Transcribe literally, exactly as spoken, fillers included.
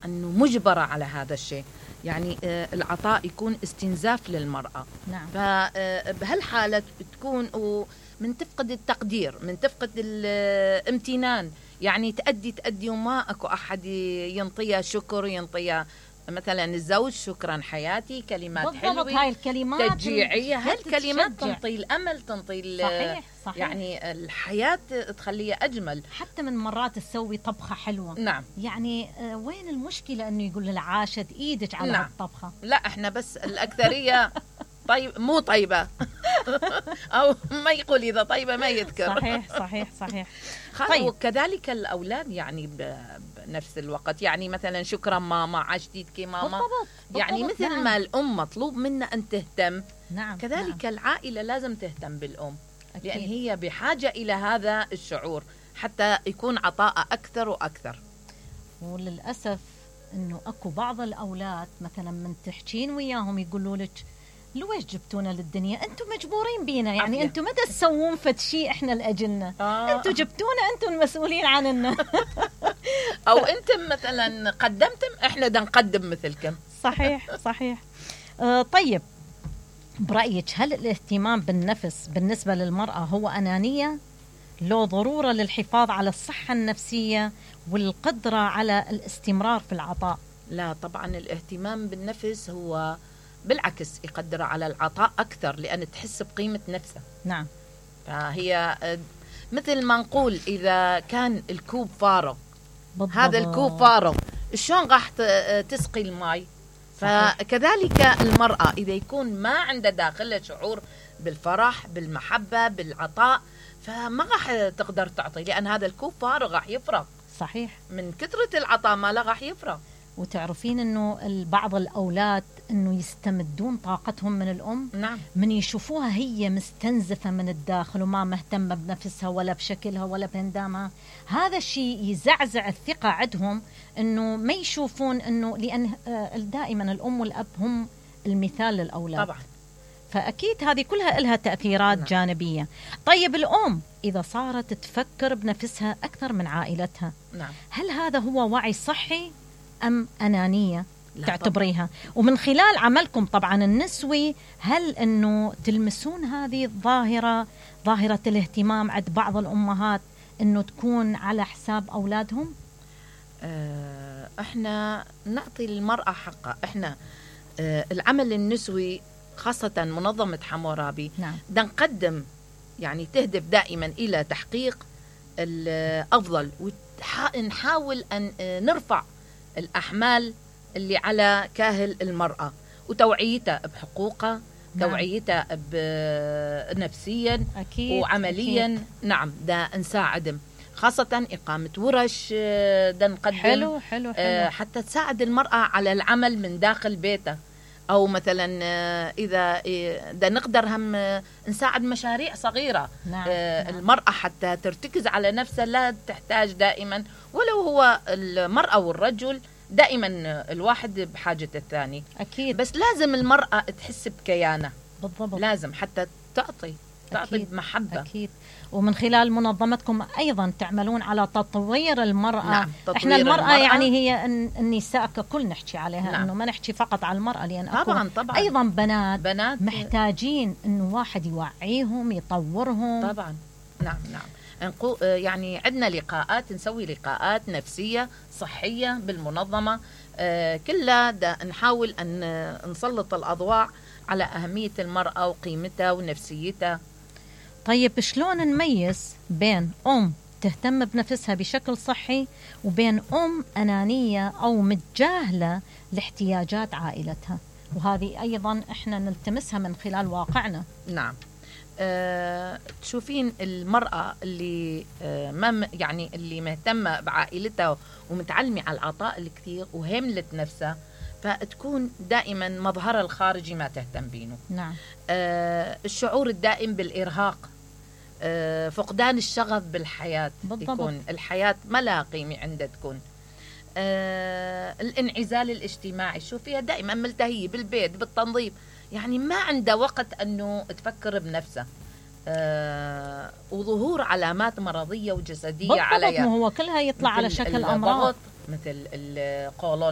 أنه مجبرة على هذا الشيء، يعني العطاء يكون استنزاف للمرأة. نعم. فبهالحالة تكون من تفقد التقدير، من تفقد الامتنان، يعني تأدي تأدي وما أكو أحد ينطيها شكر، ينطيها مثلا الزوج شكرا حياتي، كلمات حلوة، هاي الكلمات تشجيعية، هالكلمات تنطي الأمل، تنطي صحيح صحيح. يعني الحياة تخليها أجمل. حتى من مرات تسوي طبخة حلوة. نعم. يعني وين المشكلة أنه يقول لها عاشت إيدك على نعم. الطبخة؟ لا إحنا بس الأكثرية طيب مو طيبة أو ما يقول إذا طيبة ما يذكر. صحيح صحيح صحيح. طيب. وكذلك الأولاد يعني بنفس الوقت، يعني مثلا شكرا ماما، عاشتيك ماما. بالضبط. يعني بالضبط. مثل نعم. ما الأم مطلوب منا أن تهتم. نعم. كذلك نعم. العائلة لازم تهتم بالأم. أكيد. لأن هي بحاجة إلى هذا الشعور حتى يكون عطاء أكثر وأكثر. وللأسف إنه أكو بعض الأولاد مثلا من تحكين وياهم يقولوا لك لويش جبتونا للدنيا؟ أنتم مجبورين بينا، يعني عفية. أنتم متى تسوون فد شيء إحنا لأجلنا؟ آه. أنتم جبتونا، أنتم المسؤولين عننا. أو أنتم مثلا قدمتم، إحنا دا نقدم مثلكم. صحيح صحيح. آه طيب، برأيك هل الاهتمام بالنفس بالنسبة للمرأة هو أنانية؟ لو ضرورة للحفاظ على الصحة النفسية والقدرة على الاستمرار في العطاء؟ لا طبعا، الاهتمام بالنفس هو بالعكس يقدر على العطاء أكثر، لأن تحس بقيمة نفسها. نعم. فهي مثل ما نقول إذا كان الكوب فارغ، بالضبط. هذا الكوب فارغ شلون راح تسقي الماء؟ فكذلك المرأة إذا يكون ما عنده داخلها شعور بالفرح بالمحبة بالعطاء فما راح تقدر تعطي، لأن هذا الكوب فارغ راح يفرغ. صحيح. من كثرة العطاء ماله راح يفرغ. وتعرفين أنه بعض الأولاد أنه يستمدون طاقتهم من الأم. نعم. من يشوفوها هي مستنزفة من الداخل وما مهتمة بنفسها ولا بشكلها ولا بهندامها، هذا الشيء يزعزع الثقة عندهم، أنه ما يشوفون أنه، لأن دائما الأم والأب هم المثال للأولاد. طبعا. فأكيد هذه كلها لها تأثيرات. نعم. جانبية. طيب الأم إذا صارت تفكر بنفسها أكثر من عائلتها. نعم. هل هذا هو وعي صحي أم أنانية تعتبريها؟ طبعا. ومن خلال عملكم طبعا النسوي، هل أنه تلمسون هذه الظاهرة، ظاهرة الاهتمام عند بعض الأمهات أنه تكون على حساب أولادهم؟ اه احنا نعطي للمرأة حقها. احنا اه العمل النسوي خاصة منظمة حمورابي. نعم. دا نقدم يعني تهدف دائما إلى تحقيق الأفضل، ونحاول أن نرفع الأحمال اللي على كاهل المرأة وتوعيتها بحقوقها. نعم. توعيتها نفسيا. أكيد. وعمليا. أكيد. نعم، دا نساعدهم، خاصة إقامة ورش دا نقدم. حلو حلو حلو. حتى تساعد المرأة على العمل من داخل بيتها، أو مثلا إذا دا نقدر هم نساعد مشاريع صغيرة. نعم. المرأة حتى ترتكز على نفسها، لا تحتاج دائما، ولو هو المرأة والرجل دائما الواحد بحاجة الثاني. أكيد. بس لازم المرأة تحس بكيانة. بالضبط. لازم حتى تعطي تعطي أكيد. بمحبة. أكيد. ومن خلال منظمتكم أيضا تعملون على تطوير المرأة. نعم. إحنا المرأة, المرأة يعني هي النساء ككل نحكي عليها. نعم. إنه ما نحكي فقط على المرأة، لأن طبعا طبعا أيضا بنات, بنات محتاجين إنه واحد يوعيهم يطورهم. طبعا. نعم نعم. يعني عندنا لقاءات، نسوي لقاءات نفسية صحية بالمنظمة كلها، نحاول أن نسلط الأضواء على أهمية المرأة وقيمتها ونفسيتها. طيب شلون نميز بين أم تهتم بنفسها بشكل صحي وبين أم أنانية أو متجاهلة لاحتياجات عائلتها؟ وهذه أيضا إحنا نلتمسها من خلال واقعنا. نعم. أه، تشوفين المرأة اللي أه ما يعني اللي مهتمة بعائلتها ومتعلمة على العطاء الكثير وهملت نفسها، فتكون دائما مظهرها الخارجي ما تهتم بينه. نعم. أه، الشعور الدائم بالإرهاق، أه، فقدان الشغف بالحياة. بالضبط. يكون الحياة ما لها قيمة عندها. تكون أه، الانعزال الاجتماعي، شوفيها دائما ملتهية بالبيت بالتنظيف، يعني ما عنده وقت أنه تفكر بنفسه. آه وظهور علامات مرضية وجسدية عليها. بالضبط. هو كلها يطلع على شكل أمراض، مثل القولون